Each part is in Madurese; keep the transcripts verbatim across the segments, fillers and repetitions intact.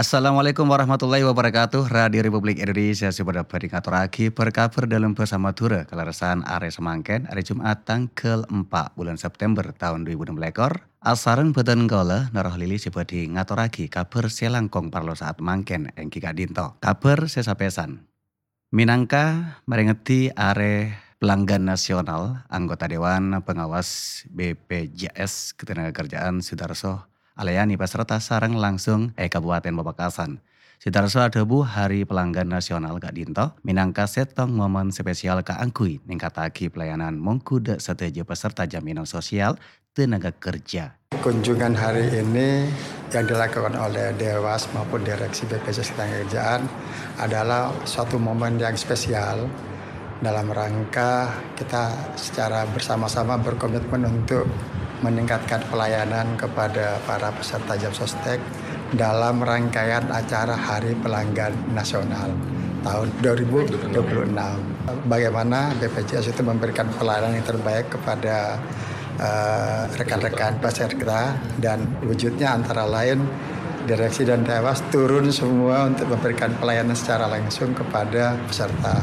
Assalamualaikum warahmatullahi wabarakatuh. Radio Republik Indonesia sè bâdâ bhâdhi ngatorraghi bâr-kabhâr dâlem bhâsa Madhurâ kalerressan arè samangkèn, arè Jum'at tangghâl empa' bulân September taon dhu èbu ennem lèkor. Asareng bhâdhân kaulâ, Noroh Lili sè bhâdhi ngatorraghi kabhâr sè langkong parlo sa'at mangkèn èngghi ka'dinto. Kabhâr sè sapèsan. Mènangka marèngeddi Arè Pelanggan Nasional, Anggota Dewan Pengawas B P J S Ketenagakerjaan Sudarso alayani peserta sareng langsung è Kabupaten Pamekasan. Sudarso adhâbu Hari Pelanggan Nasional ka'dinto mènangka sèttong momen spesial kaangghuy ningkataghi pelayanan mongghu dâ' sadhâjâ peserta jaminan sosial tenaga kerja. Kunjungan hari ini yang dilakukan oleh Dewas maupun Direksi B P J S Ketenagakerjaan adalah suatu momen yang spesial dalam rangka kita secara bersama-sama berkomitmen untuk meningkatkan pelayanan kepada para peserta Jam Sostek dalam rangkaian acara Hari Pelanggan Nasional tahun dua ribu dua puluh enam. Bagaimana B P J S itu memberikan pelayanan yang terbaik kepada eh, rekan-rekan peserta, dan wujudnya antara lain direksi dan dewas turun semua untuk memberikan pelayanan secara langsung kepada peserta.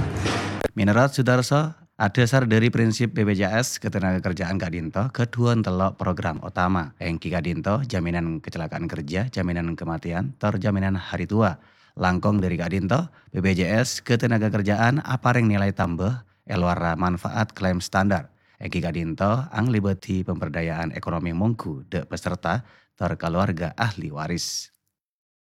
Menurut Sudarso, adhâsar dâri prinsip B P J S Ketenagakerjaan ka'dinto ghâdhuwân tello' program otama, èngghi ka'dinto jaminan kecelakaan kerja, jaminan kematian, tor jaminan hari tua. Langkong dâri ka'dinto, B P J S Ketenagakerjaan aparèng nilai tambâ è lowarra manfaat klaim standar. Èngghi ka'dinto anglèbâdhi pemberdayaan ekonomi mongghu dâ' peserta tor kaluwarga ahli waris.